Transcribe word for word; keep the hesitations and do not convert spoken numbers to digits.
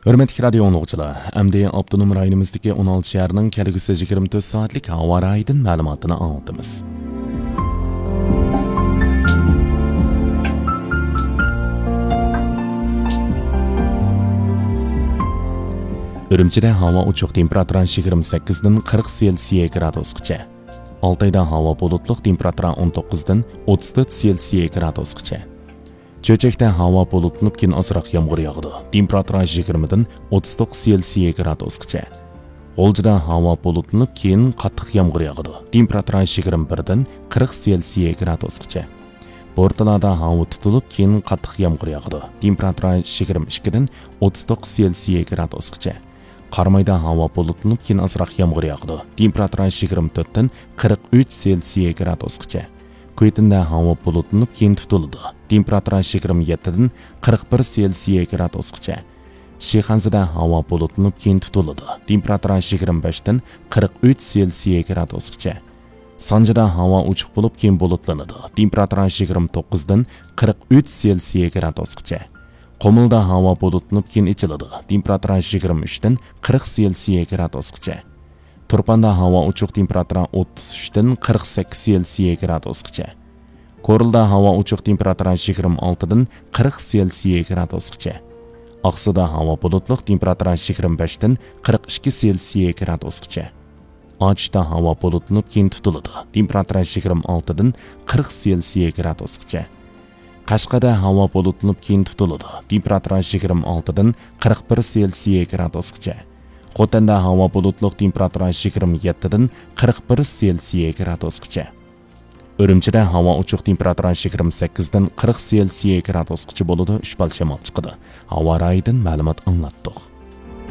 ھۆرمەتلىك رادىيو ئاڭلىغۇچىلار، ئەمدى ئاپتونوم رايونىمىزدىكى ئون ئالتە شەھەرنىڭ كەلگۈسى يىگىرمە تۆت سائەتلىك ھاۋا رايىدىن مەلۇماتىنى ئاڭلىتىمىز. ئۈرۈمچىدە ھاۋا ئوچۇق، تېمپېراتۇرا يىگىرمە سەككىزدىن قىرىق سېلسىيە گرادۇسقىچە. ئالتايدا ھاۋا بۇلۇتلۇق، تېمپېراتۇرا ئون توققۇزدىن ئوتتۇز تۆت سېلسىيە گرادۇسقىچە. چۆچەكتە ھاۋا بۇلۇتلىنىپ، كېيىن ئازراق يامغۇر ياغىدۇ. تېمپېراتۇرا يىگىرمىدىن ئوتتۇز توققۇز سېلسىيە گرادۇسقىچە. غۇلجىدا ھاۋا بۇلۇتلىنىپ، كېيىن قاتتىق يامغۇر ياغىدۇ. تېمپېراتۇرا يىگىرمە بىردىن قىرىق سېلسىيە گرادۇسقىچە. بورتالادا ھاۋا تۇتۇلۇپ، كېيىن قاتتىق يامغۇر ياغىدۇ. تېمپېراتۇرا يىگىرمە ئىككىدىن ئوتتۇز توققۇز سېلسىيە گرادۇسقىچە. قارامايدا ھاۋا بۇلۇتلىنىپ، كېيىن ئازراق يامغۇر ياغىدۇ. تېمپېراتۇرا يىگىرمە تۆتتىن قىرىق ئۈچ سېلسىيە گرادۇسقىچە. كۈيتىندە ھاۋا بۇلۇتلىنىپ، كېيىن تۇتۇلىدۇ. تېمپېراتۇرا يىگىرمە يەتتىدىن قىرىق بىر سېلسىيە گرادۇسقىچە. شىخەنزىدە ھاۋا بۇلۇتلىنىپ، كېيىن تۇتۇلىدۇ. تېمپېراتۇرا يىگىرمە بەشتىن قىرىق ئۈچ سېلسىيە گرادۇسقىچە. سانجىدا ھاۋا ئوچۇق بولۇپ، كېيىن بۇلۇتلىنىدۇ. تېمپېراتۇرا يىگىرمە توققۇزدىن قىرىق ئۈچ سېلسىيە گرادۇسقىچە. قۇمۇلدا ھاۋا بۇلۇتلىنىپ، كېيىن ئېچىلىدۇ. تېمپېراتۇرا يىگىرمە ئۈچتىن قىرىق سېلسىيە گرادۇسقىچە. تۇرپاندا ھاۋا ئوچۇق، تېمپېراتۇرا ئوتتۇز ئۈچتىن قىرىق سەككىز سېلسىيە گرادۇسقىچە. كورلىدا ھاۋا ئوچۇق، تېمپېراتۇرا يىگىرمە ئالتىدىن قىرىق سېلسىيە گرادۇسقىچە. ئاقسۇدا ھاۋا بۇلۇتلۇق، تېمپېراتۇرا يىگىرمە بەشتىن قىرىق ئىككى سېلسىيە گرادۇسقىچە. ئاچۇشتا ھاۋا بۇلۇتلىنىپ، كېيىن تۇتۇلىدۇ. تېمپېراتۇرا يىگىرمە ئالتىدىن قىرىق سېلسىيە گرادۇسقىچە. قەشقەردە ھاۋا بۇلۇتلىنىپ، كېيىن تۇتۇلىدۇ. تېمپېراتۇرا يىگىرمە ئالتىدىن قىرىق بىر سېلسىيە گرادۇسقىچە. خوتەندە ھاۋا بۇلۇتلۇق، تېمپېراتۇرا يىگىرمە يەتتىدىن قىرىق بىر سېلسىيە گرادۇسقىچە. ئۈرۈمچىدە ھاۋا ئوچۇق، تېمپېراتۇرا يىگىرمە سەككىزدىن قىرىق سېلسىيە گرادۇسقىچە بولىدۇ، ئۈچ بال شامال چىقىدۇ. ھاۋا رايىدىن مەلۇمات ئاڭلاتتۇق.